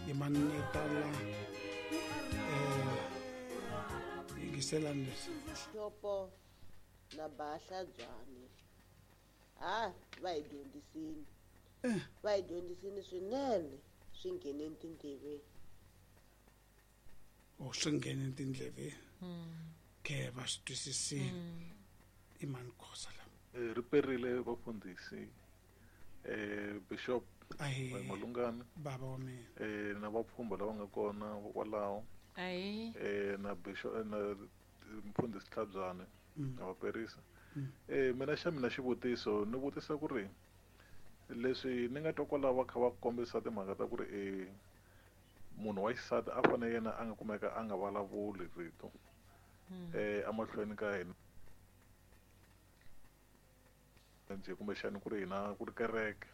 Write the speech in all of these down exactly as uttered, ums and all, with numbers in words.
Yimani ni ta la eh yingiselani leswi. Xopo na Bahla Byani ha va hi dyondzisini va hi dyondzisini swinene swi nghene tindleveni. O swi nghene tindleveni ke va swi twisisile. I mani Khosa la? Ri perile vafundhisi eh Bishop Malungani baba wa mina eh na vapfhumba lava nga kona kwalaho ayi eh na Bishop na mfundhisi Tlhabyane na vaperisa. Eh mina xa mina xivutiso ni vutisa ku ri leswi ni nga twa kwalaho va kha va kombisa timhaka ta ku ri eh munhu wa xisati a fanele yena a nga kumeka a nga vulavuli rito eh emahlweni ka hina njhe kumbexani ku ri hina ku ri kereke.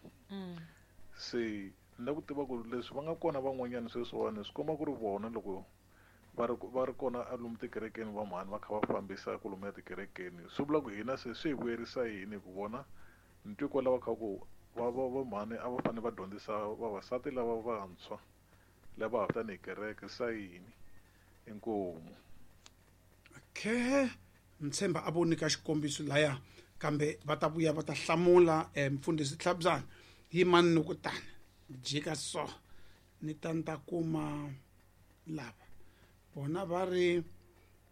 Se ni la ku tiva ku leswi va nga kona van'wanyana sweswiwani swi komba ku ri vona loko va ri va ri kona a lomu tikerekeni va mhani va kha va fambisa ku lomu ya tikerekeni swi vula ku hina se swi hi vuyerisa yini ku vona ni twi kwala va kha ku va va va mhani a va fanele va dyondzisa vavasati lava vantshwa lava ha tanihi kereke sa yini inkomu. Okay, ntshemba a vo nyika xikombiso laya kambe va ta vuya va ta hlamula mfundhisi Tlhabyana. Yimani ni ku tani jika so ni ta ni ta kuma lava vona va ri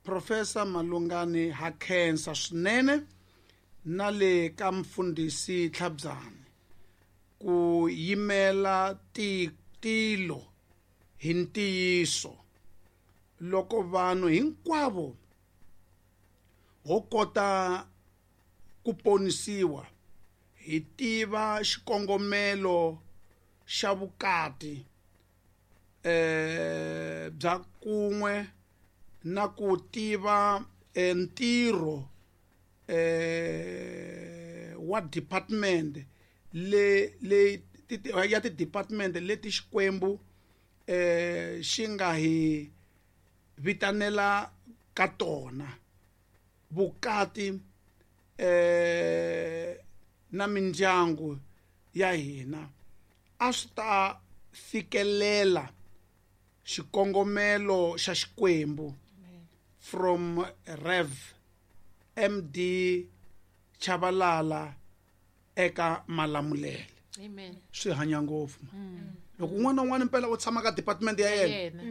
Professor Malungani ha khensa swinene na le ka mfundhisi Tlhabyana ku yimela tilo hi ntiyiso loko vanhu hinkwavo ho kota ku ponisiwa hi tiva xikongomelo xa vukati eh bya kun'we na ku tiva ntirho eh wa department le le ya ti department leti Xikwembu eh xi nga hi vitanela ka tona vukati eh na mindyangu ya hina a swi ta fikelela xikongomelo xa Xikwembu. From Rev M D Chabalala eka Malamulele. Amen. Swi hanya ngopfu. Loko un'wana na un'wana mpela u tshama ka department ya yena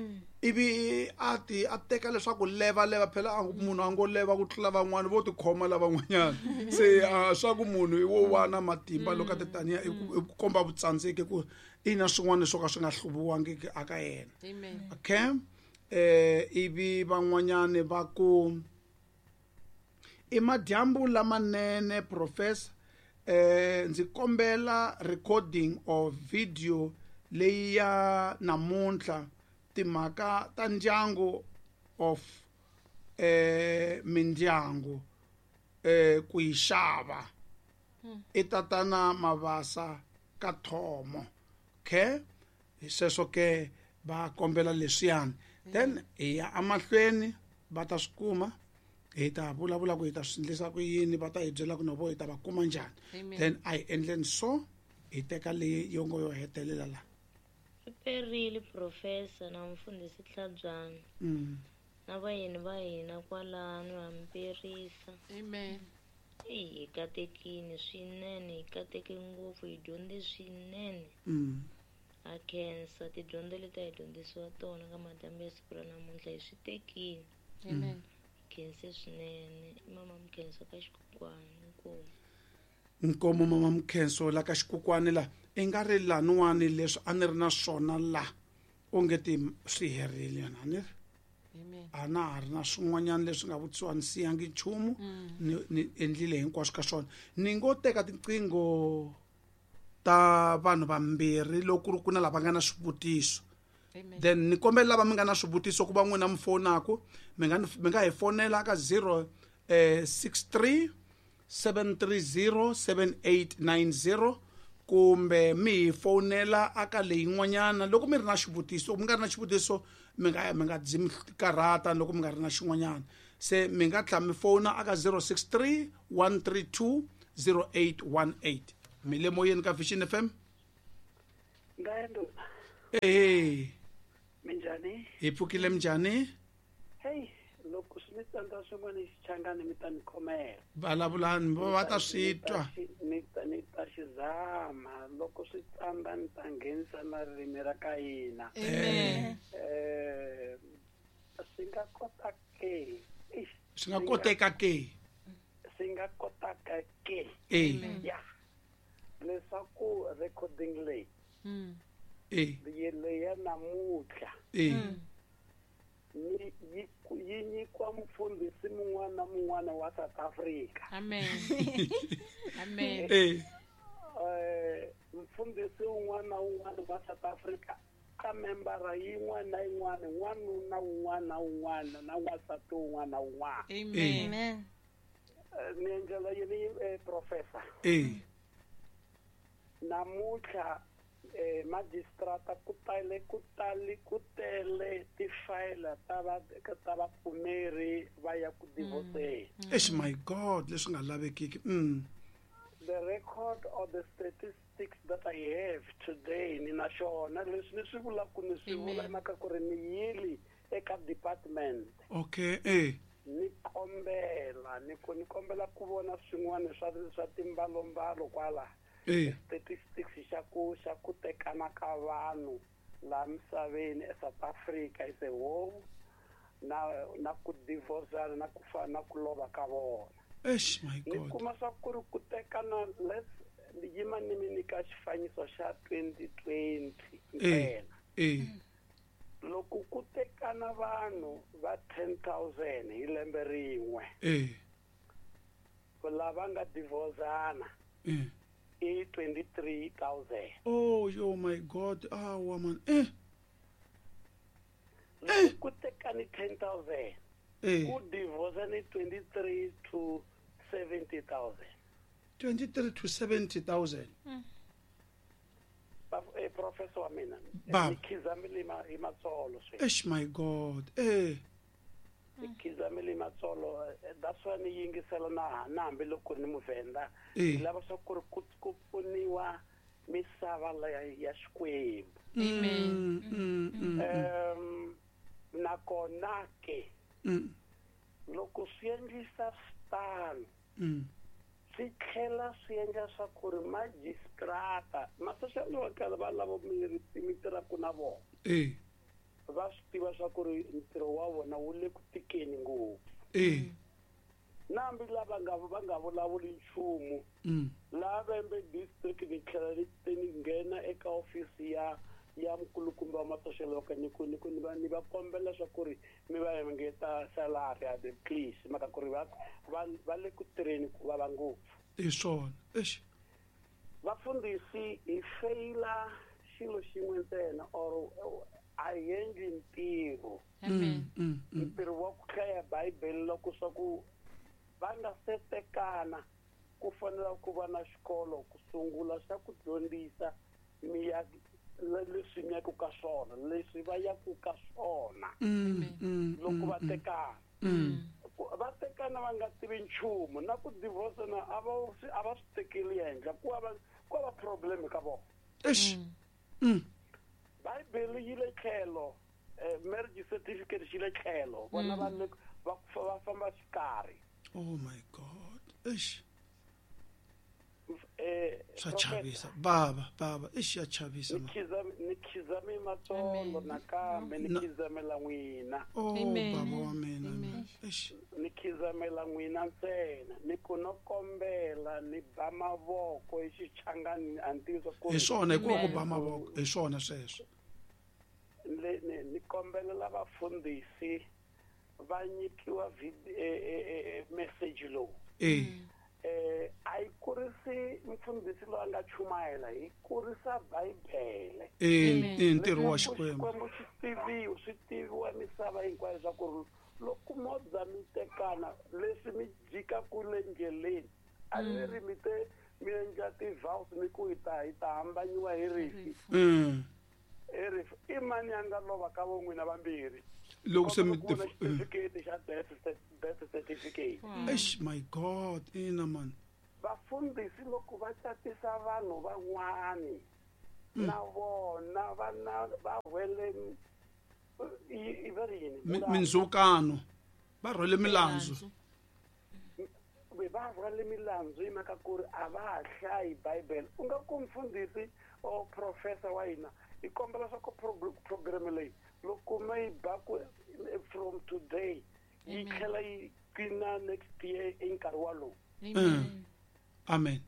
ivi a ti a teka leswaku leva leva phela munhu a ngo leva ku tlula van'wana vo tikhoma lavan'wanyana se swa ku munhu i wo wana matimba loko a ti taniya i ku komba vutsandzeki ku ina swin'wana swo ka swi nga hluviwangiki aka yena. Okay, eh ivi van'wanyana va ku i madyambu lamanene professor eh ndzi kombela recording of video leyi ya namuntlha timhaka ta ndyangu of eh mindyangu eh ku yi xava i tatana Mavasa ka Thomo. Okay, hi sweswo ke va kombela leswiyani then hi ya emahlweni va ta swi kuma hi ta vulavula ku hi ta swi endlisa ku yini va ta hi byela ku no vo hi ta va kuma njhani. Then a hi endleni so hi teka leyi yo ngo yo hetelela la. Ri perile Professor na mfundhisi Tlhabyana na vayeni va hina kwalano ha mi perisa. Amen. Eyi hi katekile swinene, hi kateke ngopfu, hi dyondze swinene. Ha khensa tidyondzo leti a hi dyondzisiwa tona ka madyambu ya siku ra namuntlha hi swi tekile. Amen. Hi khense swinene. I mama Mkhenso ka Xikukwani. Inkomu. Nkomo mama Mkhenso la ka Xikukwani la i nga ri laniwani leswi a ni ri na swona la onge ti swi herile yona a ni ri a na ha ri na swin'wanyana leswi nga vutisiwa ni siyangi nchumu ni ni endlile hinkwaswo ka swona. Ni ngo teka tiqingho ta vanhu vambirhi loko ku ri ku na lava nga na swivutiso. Then ni kombela lava mi nga na swivutiso ku va n'wina mi fonaku mi nga mi nga hi fonela ka zero six three seven three zero seven eight nine zero kumbe mi hi fonela aka leyin'wanyana loko mi ri na xivutiso. Mi nga ri na xivutiso mi nga mi nga dzi mi karhata loko mi nga ri na xin'wanyana. Se mi nga tlhela mi fona aka zero six three one three two zero eight one eight. Mi le moyeni ka Vision F M. Eh. Minjhani? Hi pfukile minjhani? Hey, loko swi mi tsandza swin'wana xichangani mi ta ni khomela. Vulavulani va ta swi twa. Ni ta ni ta xi zama loko swi tsandza ni ta nghenisa na ririmi ra ka hina. Amen. Eh swi nga kota ke. Swi nga koteka ke. Swi nga kotaka ke. Eh. Ya. Leswaku recording leyi. Mm. Eh. Leyi ya namuntlha. Eh. Ni yi yi nyikiwa mufundhisi mun'wana na mun'wana wa South Africa. Amen. Amen. Eh. Eh mufundhisi un'wana na un'wana wa South Africa ka membara yin'wana na yin'wana n'wanuna un'wana na un'wana na n'wansati un'wana na un'wana. Amen. Amen. Ni endlela yini professor? Eh. Namuntlha eh magistrata ku tale ku tale ku tele tifayila ta va ta vapfumeri va ya ku divorce. Eish my God, leswi nga lavekiki. Mm. The record or the statistics that I have today ni na xona leswi ni swi vulaka ni swi vula mhaka ku ri ni yili eka department. Okay, eh. Ni kombela ni ku ni kombela ku vona swin'wana swa swa timbalombalo kwala. Eh. Statistics xa ku xa ku tekana ka vanhu la misaveni eSouth Africa is a whole na na ku divorce na ku fa na ku lova ka vona. Eish my Ni God. kuma swa ku ri ku tekana let's yima ni mi nyika xifaniso xa twenty twenty Eh. ntsena. Eh. Loko ku tekana vanhu va ten thousand hi lembe rin'we. Eh. Lava nga divorceana. Eh. I twenty-three thousand. Oh, yo my God. Ah, woman. Eh. Loko ku tekani ten thousand. Eh. Ku divorce ni twenty-three to seventy thousand. twenty-three to seventy thousand. Eh professor wa mina. Baba. Ni khizamile hi matsolo sweswi. Eish my God. Eh. Ni khizamile matsolo. That's why ni yingisela na na hambi loko ni muvhenda. Eh. Ni lava swa ku ri ku ku pfuniwa misava leya ya Xikwembu. Amen. Mm, mm, mm, Um nakona ke mm, loko swi endlisa switano mm. swi tlhela swi endla swa ku ri magistrata ma-social worker va lava mi mi tirhaka na vona Eh. va swi tiva swa ku ri ntirho wa vona wu le ku tikeni ngopfu. Eh. Na hambi lava nga va nga vulavuli nchumu Mm. laha Vhembe district ni tlhela ni ni nghena eka ofisi ya ya mukulukumba wa ma-social worker ni ku ni ku ni va ni va kombela swa ku ri mi va engeta salary ya the please mhaka ku ri va va va le ku tirheni ku vava ngopfu. Hi swona. Eish. Vafundhisi hi feyila xilo xin'we ntsena or a hi endli ntirho. Amen. Mm, mm. Ntirho wa ku hlaya Bibele loko swa ku va nga se tekana ku fanele ku va na xikolo ku sungula xa ku dyondzisa mi ya leswi mi yaku ka swona leswi va yaku ka swona Mm, mm, loko va mm, tekana. mm. Va tekana va nga tivi nchumu na ku divorce na a va a va swi tekeli henhla ku va ku va problem ka vona. Eish. Mm. Bibele yi le tlhelo marriage certificate xi le tlhelo vona va le va va famba xikarhi. Oh my God. Eish. Eh Swa chavisa. Baba, baba, eish ya chavisa ni ma. khizame ni khizame matsolo nakambe ni Na- khizamela n'wina. Oh Amen. baba wa mina. Amen. Eish. Ni khizamela n'wina ntsena ni ku no kombela ni ba mavoko hi xichangani a ni tivi swa ku Hi swona hikuva ku Amen. ba mavoko hi swona sweswo. le ni ni kombelela vafundhisi va nyikiwa vid- eh, eh, eh, message lowu. Eh. Eh a yi kurisi mfundhisi loyi a nga chumayela hi kurisa Bibele. Eh, eh ntirho wa Leswaku Xikwembu. Xikwembu xi tiviwa swi tiviwa misava hinkwayo swa ku ri loko mo za mi tekana leswi mi jikaku le ndleleni a ni ri mi te mi endla ti-vows mi ku hi ta hi ta hambanyiwa hi rifi Mm. hi rifi i mani a nga lova ka vo n'wina vambirhi Loko se mi Kombela ku vona eh. xitifiketi xa death death certificate. Eish my God, ina man. Vafundhisi loko va catisa vanhu van'wani na vona va na va rhwele I va ri yini? Mindzhukano. Va rhwele milandzu. Va rhwale milandzu hi mhaka ku ri a va ha hlayi Bible. U nga ku mfundhisi or professor wa hina hi kombela swa ku program leyi loko mi yi ba ku from today yi tlhela yi qina next year i nkarhi walowu. Amen. Amen.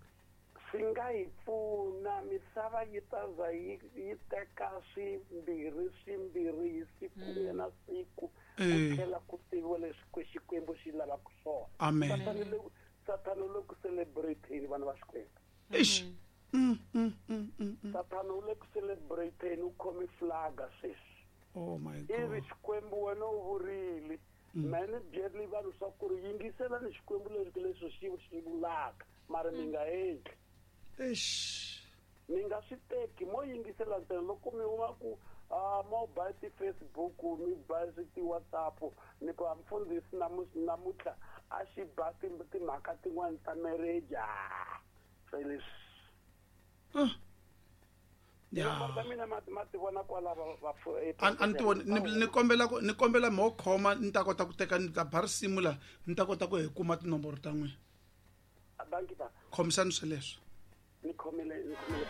Swi nga hi pfuna misava yi ta za yi yi teka swimbirhi swimbirhi hi siku na siku ku tlhela ku tiviwa leswi Xikwembu xi lavaka swona. Amen. Sathana u le ku celebrate-ni vana va Xikwembu. Eish. Mm, mm, mm, mm. Sathana u le ku celebrate-ni u khome flaga sweswi. Oh my God. Ivi Xikwembu wena u vurile mehe ni byeli vanhu swa ku ri yingiselani Xikwembu leswi leswi xi xi vulaka mara mi nga endli. Eish. Mi nga swi teki mo yingisela ntsena loko mi huma ku ah mo ba ti-Facebook mi ba ti-WhatsApp ni ku mfundhisi namuntlha a xi ba timhaka tin'wani ta marriage ah se leswi. Ya. Mina ma ma ti vona kwala va a ni ti voni ni kombela ku ni kombela mo khoma ni ta kota ku teka ni ta ba risimu la ni ta kota ku hi kuma tinomboro ta n'wina. Banki ba. Khomisani sweleswo. Ni khomile ni khomile.